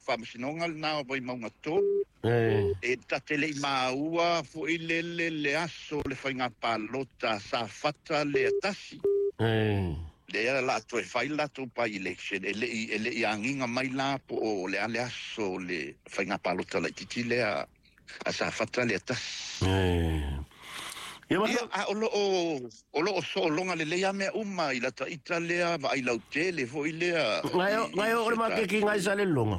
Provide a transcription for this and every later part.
Faamasinoga lena o Vaimauga 3. E ta te le i maua foi lele le aso o le faiga palota Safata lea tasi. Lea la toe fai le latou by election, e le i agiga mai la po o le a le aso o le faiga palota laitiiti lea a Safata lea tasi. Ia, Ia, a o lo o soologa lelei a mea uma i lata ita lea vaai lautele foi lea. Ngai o le maketi ngai sa le longa.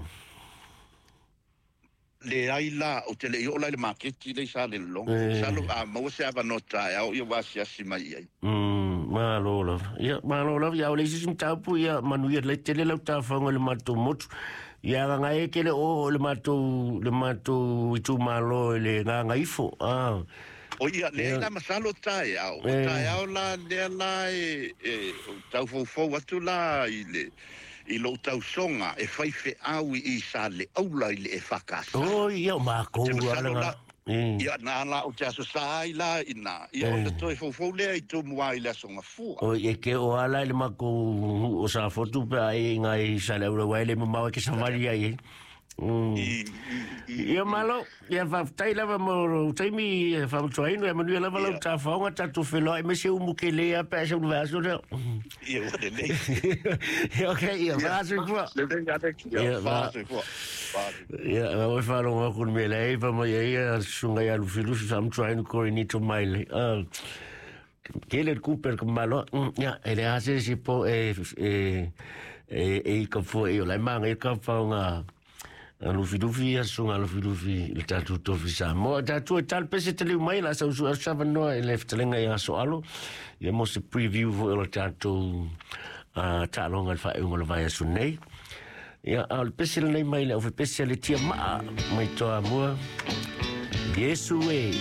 Leai la, ou te le i oo la i le maketi lea i Salelologa. Masalo a maua se avanoa taeao, ia ua asiasi mai i ai. Malo lava. Ia, malo lava. Ia, o le isi mataupu, ia, manuia le tele lau tafaga i le matou motu. Ia, aga e kele o le matou itumalo i le Gagaifo. Ah. O ia, leai la, masalo taeao. O taeao la lea la e tau foufou atu la i lou tausoga e fai feau i Saleaula i le EFKS. O, ia, o makou Te masalo ala. La, ia, na la o te aso sa ai la ina. Ia, o toe foufou lea i Tumua i le aso Gafua. O e ke o ala i le makou o sa fotu pe ai ngai Saleaula wai le mamau e ke savali ai. I Ia malo, ia faafetai lava mo lou taimi faamatuaina, ia manuia lava lau tafaoga tatou feloai me se umu ke le a pe se ulu aso lea. Ia, ua lelei. Ia, okay, ia faasoifua. Lelei, Alex. Ia, Ia, faasoifua. Faasoifua. Ia, oi faalogo aku le mea lea pa mai ai a susuga ia Lufilufi faamatuaina Korinito mai le. Ah, kele le kupe le kamalo. Ia, e le ase si po e i ka fo e o lai manga i ka faunga Lufilufi ia susuga Lufilufi le tatou tofi Samoa. Tatou e tale pese te liu mai la sa usu aso savanoa i le fetalaiga ia Aso Alo. Ia mo se preview foi o le tatou taaloga i le faaiuga o le vaiaso nei. Ia, a o le pese lenei mai le aufepese a le tia maa mai Toamua. Iesu e.